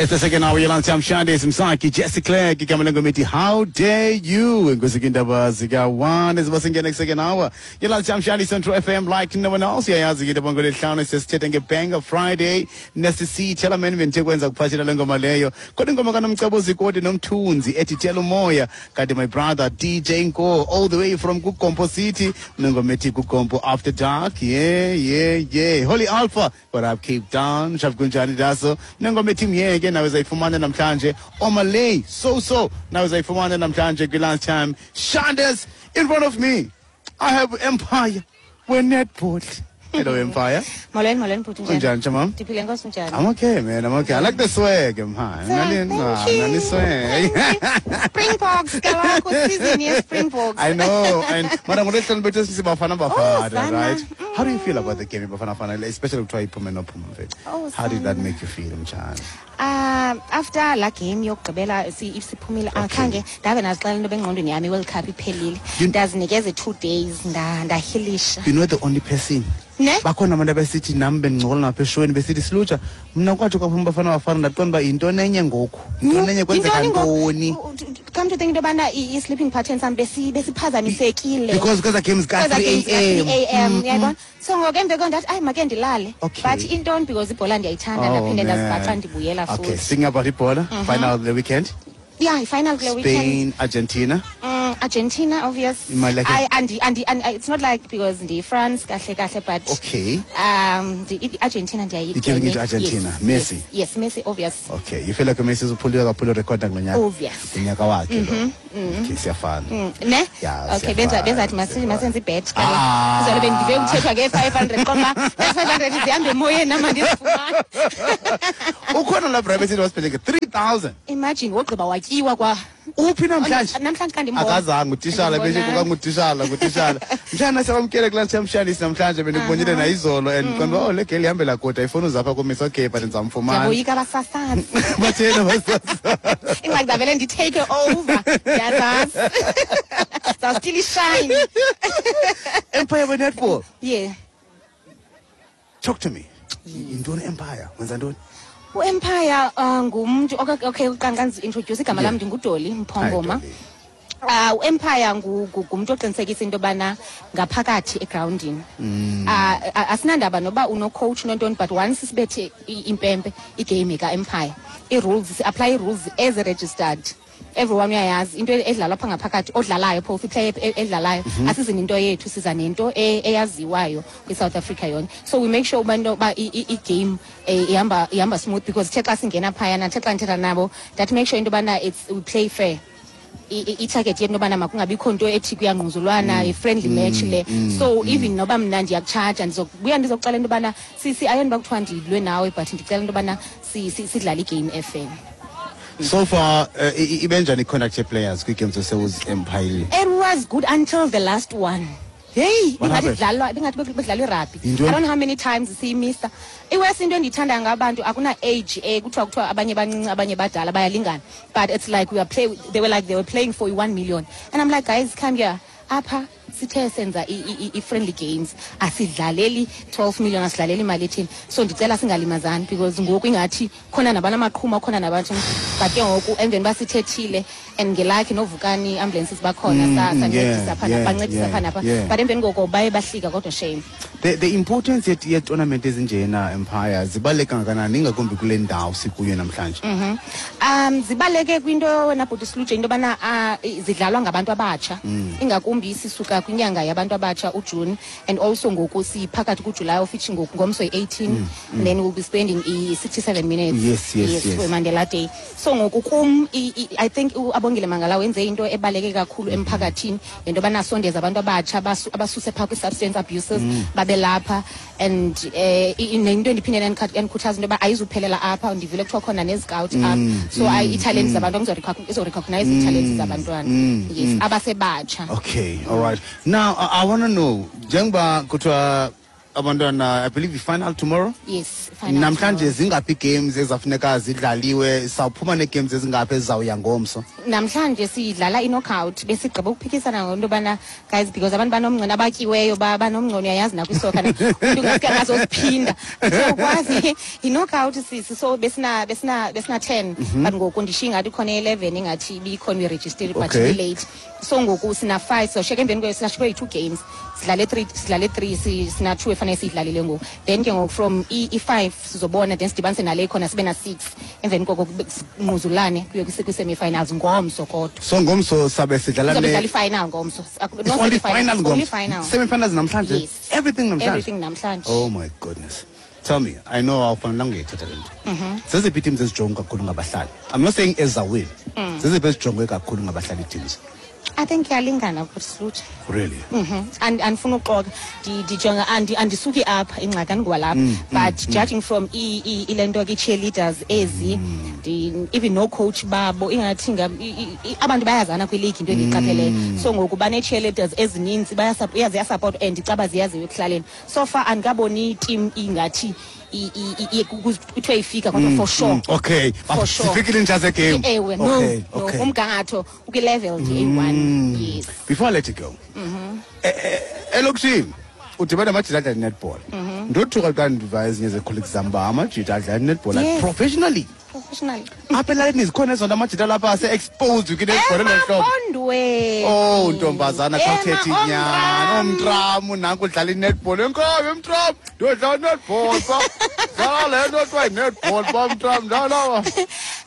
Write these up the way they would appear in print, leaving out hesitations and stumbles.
It's the second hour yeLunchtime Shandays. Msaki Jesse Clegg igama lengoma ethi "How Dare You". Enkosi indaba zika-1 eziba singena second hour yeLunchtime Shandays on True FM like no one else. Uyayazi ke into ngolwesihlanu sesithethe ngeBanger Friday nesisithela meni bendithe kwenza kuphathela le ngoma leyo, kodwa ingoma kaNomcebo Zikode noMthunzi ethi "Tshela Umoya". Kanti my brother DJ Nko all the way from kuGompo City unengoma ethi "KuGompo After Dark". Yeah, Holy Alpha, what up, Cape Town? Shap, kunjani daso? Nengoma ethi "Myeke" nawe zayifumana namhlanje. Omalay so so nawe zayifumana namhlanje kwi-Lunchtime Shandes. In front of me I have Empire we-netball. Hello, Empire. Molweni, molweni bhuti, njani? Unjani, chamam? Ndiphile, nkosi, unjani? I'm okay, man. I'm okay. I like the swag, man. Thank you. Nani swag. Thank you. Springboks kaloku, season ye-Springboks. I know. And mara ngolwesihlanu bethu sibafana bafana, Oh, sana. right? How do you feel about the game Bafana Bafana, especially kuthiwa iphume nophuma, mfethu? Oh, How did that sana. make you feel, mtshana? After la game yokugqibela siphumile, akhange ndabe nazixela into bengqondweni yami i-World Cup iphelile. Ndazinikeza i-2 days, ndahilisha. You know the only person. Ne? Bakhona abantu abesithi nami bendingcola napha eshweni besithi silutsha mna kwathi kwaphuma Bafana Bafana ndaqonda uba yintoni enye ngoku, yintoni enye, kwenzeka Yintoni ngoku? ntoni? Come to think into yobana i-sleeping pattern sam besiphazamisekile. Because kweza games Kweza ka-3 games a.m. ka-3 a.m., uyayibona? So ngoku emva koko ndathi ayi make ndilale. But intoni, because ibhola ndiyayithanda, Oh, ndaphinde man. ndazibhaxa ndibuyela Okay, futhi. speaking about ibhola, final the weekend. Yeah, i-final kule weekend. Spain, Argentina. Argentina, obvious. Imali yakhe- I, and it's not like because ndi France kahle kahle, but the Argentina ndiyayi. You're giving it to Argentina. Yes, Messi. Yes, Messi, obvious. Okay, you feel like uMessi uzophulile kakhulu record ngonyaka? Obvious. Unyaka wakhe lo. Okay, siyafana. Ne? Yeah, Okay, benza siyafana, benza masi siyafana. masenze ibet. Ah. Kuzobe bendive kuthethwa nge 500 qoma 500 zihambe emoyeni nama ndizifumana. Ukhona la private city wasipheleke 3000. Imagine wogqiba watyiwa kwa Uphi namhlanje? Namhlanje kanti Akazange utishala beshe Andibonanga. kukangutitshala ngutitshala. Mshana, siyamkele kulaa Chamshanisi namhlanje. Bendikubonile nayizolo and qonda oh le girl ihambela kude, ayifuni uzapha kumisa. Okay, but ndizamfumana. Ndiyaboyika abasasazi. Batheni abasasazi? Ingxaki ndavele nditake over. Ndiyazazi. Zawustill ishine. Empire we-netball. Yeah. Talk to me. Yintoni Empire? Wenza ntoni? U-Empire ngumntu okay, uqanqa introduce igama lam ndinguDolly Mphongoma. Hi, Dolly. U-Empire ngumntu oqinisekisa into yobana ngaphakathi egrawundini asinandaba noba uno-coach nontoni, but once sibethe impempe, igame ka-Empire, ii-rules si-apply ii-rules ezi-registered. Everyone uyayazi into edlalwa pha ngaphakathi, odlalayo phofu iplayer edlalayo. Asizi nento yethu, siza nento eyaziwayo kwi-South Africa yonke. So we make sure uba into yoba igame ihamba smooth, because the xa singena phayana, the xa ndithetha nabo that make sure into yobana it's we play fair. I-target yethu intobana makungabikho nto ethi kuyangquzulwana, i-friendly match le. So even noba mna ndiyakutshaja, ndizobuya ndizokuxela into yobana sisi ayoni uba kuthiwa ndilwe nawe, but ndicela into yobana sidlale igame efair. So far ibenjani i-conduct ye-players kwii-games osewuzi-empire? It was good until the last one. Hey, What ingathi happened? kudlalwa, ingathi bekudlalwa irugby. Yintoni? I don't know how many times siyimisa. Iwesi into endiyithanda ngabantu akuna age kuthiwa abanye bancinci, abanye badala, bayalingana. But it's like we are play they were like they were playing for 1 million. And I'm like, "Guys, come here. Apha sithe senza i-friendly games, asidlaleli 12 million, asidlaleli imali ethini, so ndicela singalimazani," because ngoku ingathi khona nabantu amaqhuma khona nabantu. But ke ngoku emveni uba sithethile and ngelakhi noVukani ambulances bakhona sancedisa pha bancedisa pha napha, but emveni koko baye bahlika kodwa shame. The importance ye-tournament ezinjena, Empire, zibaluleke kangakanani, ingakumbi kule ndawo sikuyo namhlanje? Zibaleke kwinto wena bhuti Siluje, into yobana zidlalwa ngabantu abatsha, ingakumbi sisuka kwinyanga yabantu abatsha uJune, and also ngoku siphakathi kuJuly, of which ngoku ngomso yi-18, and then we'll be spending i-67 minutes for Mandela Day. So ngoku kum I think uAbongile Mangala wenze into ebaleke kakhulu emphakathini ngento yobana asondeze abantu abatsha, abasuse phaa kwi-substance abuses, babe lapha. And nento endiphinde endikhuthaza into yoba ayizuphelela apha. Ndivile kuthiwa khona nezcout apha, so iitalent zabantu izorecognize iitalent zabantwana, yes, abasebatsha. Okay, all right. Now I want to know njengoba kuthiwa Abantwana, I believe final tomorrow. Yes, final. Namhlanje zingaphi games ezafuneka zidlaliwe? Sawuphuma nee-games ezingaphi ezizawuya ngomso? Namhlanje sidlala i-knockout. Besigqiba ukuphikisana ngento yobana, guys, because abantu banomngcono abatyiweyo, banomngcono, uyayazi nakwisoka umntu ngaske angazoziphinda. Siyakwazi i-knockout sisi, so besina 10, but ngoku ndishiya ingathi ikhona 11 ingathi ibikhona uyiregistered, but late. So ngoku sina 5, so sheke emveni kwayo sinashiywe yi-2 games, sidlale 3, sidlale 3, sina 2 efanele siyidlalile ngoku. Then ke ngoku from i-5 sizobona, then sidibanise nale ikhona sibe na 6, emveni koko sinquzulane kuye kwi-semi-finals ngomso kodwa. So ngomso sabe sidlala Sizobe sidlala i-final ngomso. It's No, only semi-final, final it's only ngomso. Final. Semi-finals namhlanje? Yes. Everything namhlanje? Everything namhlanje. Oh my goodness. Tell me, I know awufanelanga uyithetha le nto. Zeziphi ii-teams ezijongwe kakhulu ngabahlali? I'm not saying ezawini. Zeziphi ezijongwe kakhulu ngabahlali ii-teams? I think iyalingana kusilutsha. Really? Mhm. Andifuna uxoka. Ndijonga andisuki apha, ingxaki andingowalapha. But judging from ile nto ke cheerleaders ezi, even no coach babo ingathi abantu bayazana kwi-league, into endiyiqapheleyo. So ngoku bane cheerleaders ezininzi, ziyasupport and icaba ziyaziwa ekuhlaleni. So far andikaboni team ingathi kuthiwe ifika kodwa for sure. For sure. Sifikile nje game. Ewe, no, no, umgangatho ukwi-level nje eyi-one. Yes. Before I let you go. Elokishini udibana namajita adlala netball. Ndothuka xa ndiva ezinye ze-colleagues zam uba amajita adlala netball like professionally. Professionally. Apha elalini zikhona ezona amajita lapha ase-exposed kwi-netball elo hlobo. Emapondweni. Oh, ntombazana, xa uthetha inyani, Omtramu. Omtramu nanku udlala i-netball. Enkobe mtramu, ndiyodlala i-netball pa. Dlala le nto kuthiwa yi-netball pa mtramu, dlala.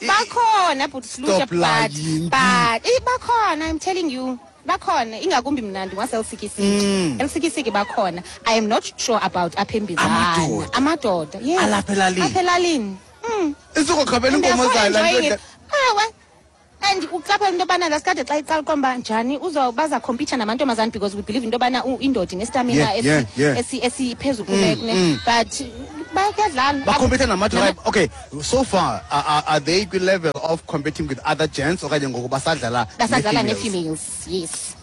Bakhona, but Sluja, Stop but lying. But bakhona, I'm telling you. Bakhona, ingakumbi mna ndingwaseLusikisiki. Elusikisiki bakhona. I am not sure about apha eMbizana. Amadoda. Amadoda, yes. Alapha elalini. Apha elalini. Isukokhabela And they are inkomo so zayo laa nto. enjoying it. Ewe. And uqaphela into yobana lasikade xa iqala uqomba njani baza compete namantombazana, because we believe into yobana indoda inestamina esiphezulu kune, but bayadlala. Bacompete namadoda. Okay, so far are they kwi-level of competing with other gents okanye ngoku basadlala Basadlala nee-females? Nee-females, yes,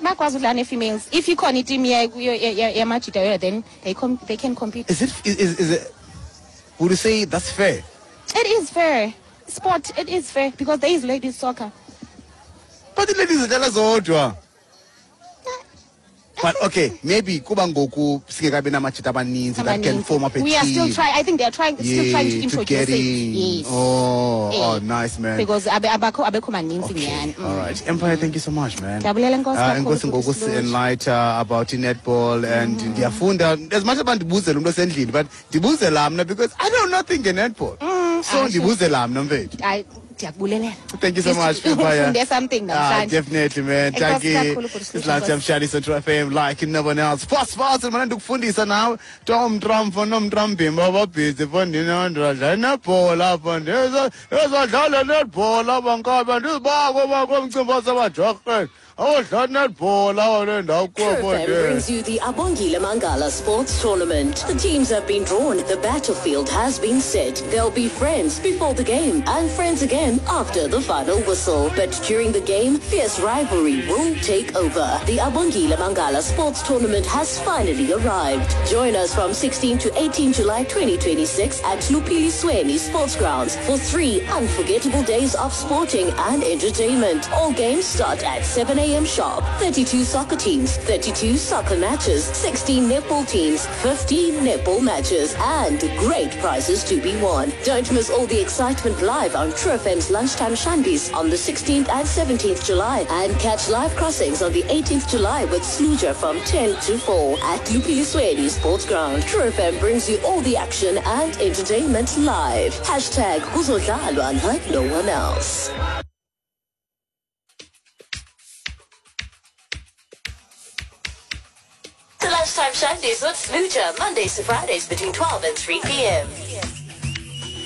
bakwazi udlala nee-females. If ikhona iteam yamajita yoyo, then they can compete. Is it is, is it would you say that's fair? It is fair sport, it is fair, because there is ladies soccer. But the ladies zidlala zodwa. But okay, maybe kuba ngoku singekabi namajita abaninzi that can Abaninzi. Form up a We are team. still trying. I think they are trying, still trying to Yeah, introduce get it. in. Yes. Oh, Eh. nice, man. Because abekho maninzi Okay. nyhani. All right. Empire, thank you so much, man. Ndiyabulela, enkosi kakhulu, Enkosi futhi ngokusi Silutsha. enlight about i-netball and ndiyafunda as much as ndibuzela umntu osendlini, but ndibuzela mna because I know nothing nge-netball. So Ah, sure. ndibuzela mna, mfethu. Hayi, ndiyakubulelela. Thank you so much, Empire. Ufunde something Ah, namhlanje. definitely, man. Thank Enkosi you. kakhulu, Bhuti It's Lunchtime Shadi Central FM, like no one else. Fast, fast, and ndikufundisa nawe. Tom Trump, nom Trump, bababhizi, fondini, ndadlala netball apha, ndizodlala netball apha, nkabe, ndizibako bakho umcimbi wasebajorheni. Awudlala netball apha le ndawo. True FM brings you the Abongile Mangala Sports Tournament. The teams have been drawn. The battlefield has been set. They'll be friends before the game and friends again after the final whistle. But during the game, fierce rivalry will take over. The Abongile Mangala Sports Tournament has finally arrived. Join us from 16 to 18 July 2026 at Lupili Sweni Sports Grounds for 3 unforgettable days of sporting and entertainment. All games start at 7 a.m. sharp. 32 soccer teams, 32 soccer matches, 16 netball teams, 15 netball matches, and great prizes to be won. Don't miss all the excitement live on True FM's Lunchtime Shandies on the 16th and 17th July, and catch live crossings on the 18th July with Sluja from 10 to 4 at Lupilisweni Sports Ground. True FM brings you all the action and entertainment live. #Kuzodlalwa like no one else. The Lunchtime Shandies with Sluja, Mondays to Fridays between 12 and 3 p.m.